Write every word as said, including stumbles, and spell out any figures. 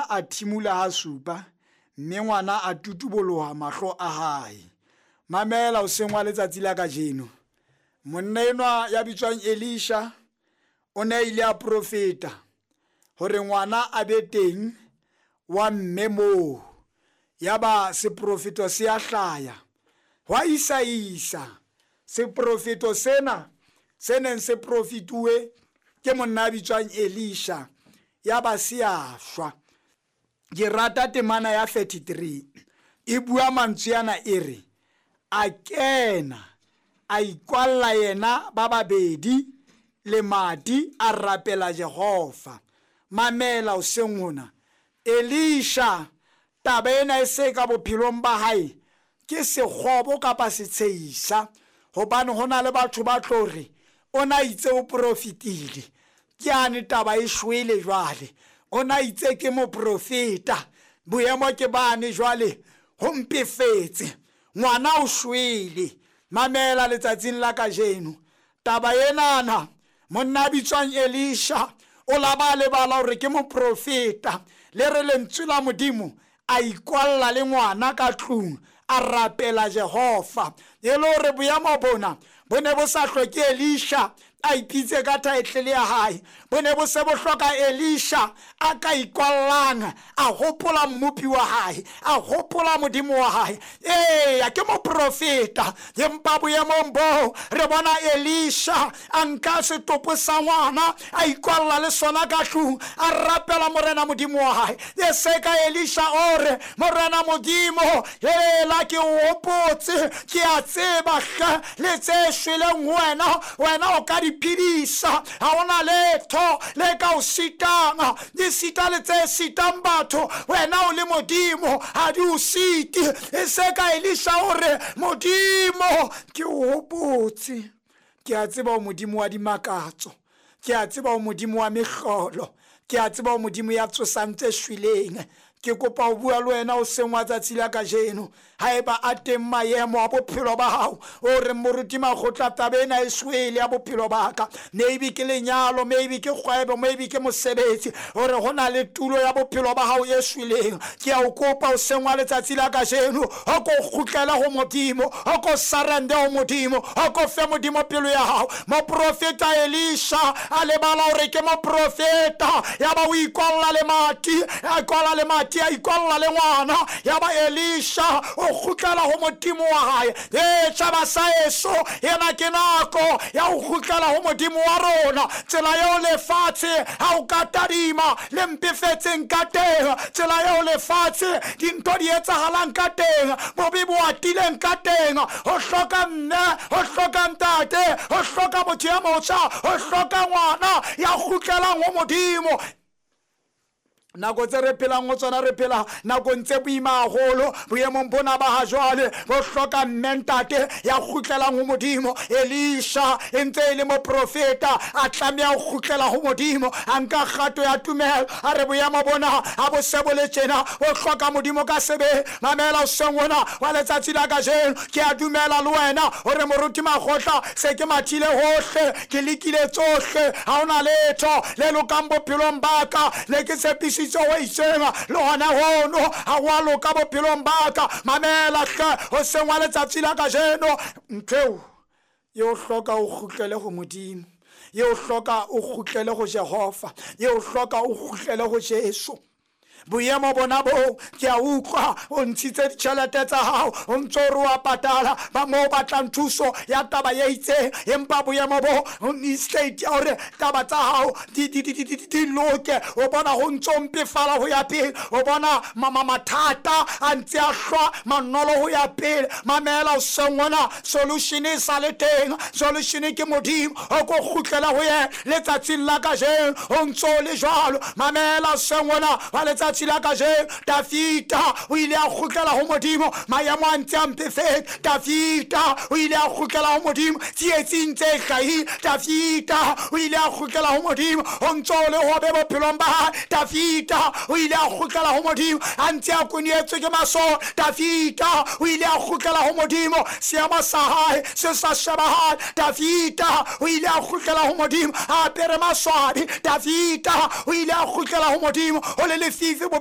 Elisha a thimula hasupa, mme ngwana a tutuboloha mahlo a hae. Mamela hoseng wa letsatsi la kajeno. Monna enwa ya bitswang Elisha o ne a ile a profeta hore ngwana a be teng wa mme moo. Yaba seprofeto se a hlaya. Hwa isa-isa seprofeto sena se neng se profituwe ke monna a bitswang Elisha, yaba se a shwa. Ke rata temana ya thirty-three e bua mantswe ana e re, a kena a ikwalla yena ba babedi lemati a rapela Jehova. Mamela hoseng hona, Elisha taba ena e se ka bophelong ba hae ke sekgobo kapa setsheisa, hobane ho na le batho ba tlo re o na itse o profitile, ke ane taba e shwele jwale, o na itse ke moprofeta, boemo ke bane jwale ho mpefetse, ngwana o shwele. Mamela letsatsing la kajeno taba enana, monna a bitswang Elisha o la ba lebala hore ke moprofeta, le re lentswe la Modimo a ikwalla le ngwana ka tlung a rapela Jehova. E le hore boemo bona bo ne bo sa hloke Elisha a ipitse ka title ya hae, bo ne bo se bo hloka Elisha a ka ikwallang a hopola mmopi wa hae, a hopola Modimo wa hae. Eya, ke moprofeta, empa boemong boo re bona Elisha a nka setopo sa ngwana a ikwalla le sona ka tlung a rapela Morena Modimo wa hae. E se ka Elisha o re, Morena Modimo, hela ke o hopotse, ke a tseba hle le tse shweleng ho wena, wena o ka di phedisa, ha hona letho le ka o sitang, di sita le tse sitang batho, wena o le Modimo ha di o site. E se ka Elisha o re, Modimo ke o hopotse, ke a tseba o Modimo wa dimakatso, ke a tseba o Modimo wa mehlolo, ke a tseba o Modimo ya tsosang tse shweleng. Ke kopa ho bua le wena hoseng wa tsatsi la kajeno, haeba a teng maemo a bophelo ba hao o re moruti Makgotla taba ena e shwele ya bophelo ba ka, maybe ke lenyalo, maybe ke kgwebo, maybe ke mosebetsi, hore ho na le tulo ya bophelo ba hao e shweleng, ke a o kopa hoseng wa letsatsi la kajeno o ko kgutlele ho Modimo, o ko surrender ho Modimo, o ko fe Modimo pelo ya hao. Moprofeta Elisha a lebala hore ke moprofeta, yaba o ikwalla lemati, a ikwalla lemati, a ikwalla le ngwana, yaba Elisha o kgutlela ho Modimo wa hae. E tjhaba sa heso, ena ke nako ya ho kgutlela ho Modimo wa rona. Tsela eo lefatshe ha o ka tadima le mpefetseng ka teng, tsela eo lefatshe dintho di etsahalang ka teng, bobe bo atileng ka teng, ho hloka mme, ho hloka ntate, ho hloka motho ya motjha, ho hloka ngwana ya kgutlelang ho Modimo. Nako tse re phelang ho tsona, re phela nakong tse boima haholo boemong bona ba ha jwale, bo hloka mme ntate ya kgutlelang ho Modimo. Elisha e ntse e le moprofeta, a tlameha ho kgutlela ho Modimo, a nka kgato ya tumelo, a re boemo bona ha bo se bo le tjena, bo hloka Modimo ka sebele. Mamela hoseng hona wa letsatsi la kajeno, ke a dumela le wena hore moruti Makgotla se ke mathile hohle, ke lekile tsohle, ha hona letho le lokang bophelong ba ka, le ke tshepisitse ho itseng le hona hono ha wa loka bophelong ba ka. Mamela hle hoseng wa letsatsi la kajeno, ntho eo e o hloka o kgutlele ho Modimo, e o hloka o kgutlele ho Jehova, e o hloka o kgutlele ho Jesu. Boemo bona boo ke a utlwa o ntshitse ditjhelete tsa hao, o ntso re wa patala ba moo batlang thuso ya taba e itseng, empa boemo bo state ya hore taba tsa hao di di di di di loke, o bona ho ntso mpefala ho ya pele, o bona mama mathata a ntse a hlwa manolo ho ya pele. Mamela hoseng hona, solution e sa le teng, solution ke Modimo, o ko kgutlela ho yena letsatsing la kajeno, o ntso le jwalo. Mamela hoseng hona wa letsatsi la kajeno, Dafita o ile a kgutlela ho Modimo, maemo a ntse a mpefetse. Dafita o ile a kgutlela ho Modimo, tsietsing tse hlahile. Dafita o ile a kgutlela ho Modimo, ho ntso le hobe bophelong ba hae. Dafita o ile a kgutlela ho Modimo, a ntse a konyetswe ke masole. Dafita o ile a kgutlela ho Modimo, seemo sa hae se sa shebahale. Dafita o ile a kgutlela ho Modimo, a apere maswabi. Dafita o ile a kgutlela ho Modimo, ho le lefifi bophelong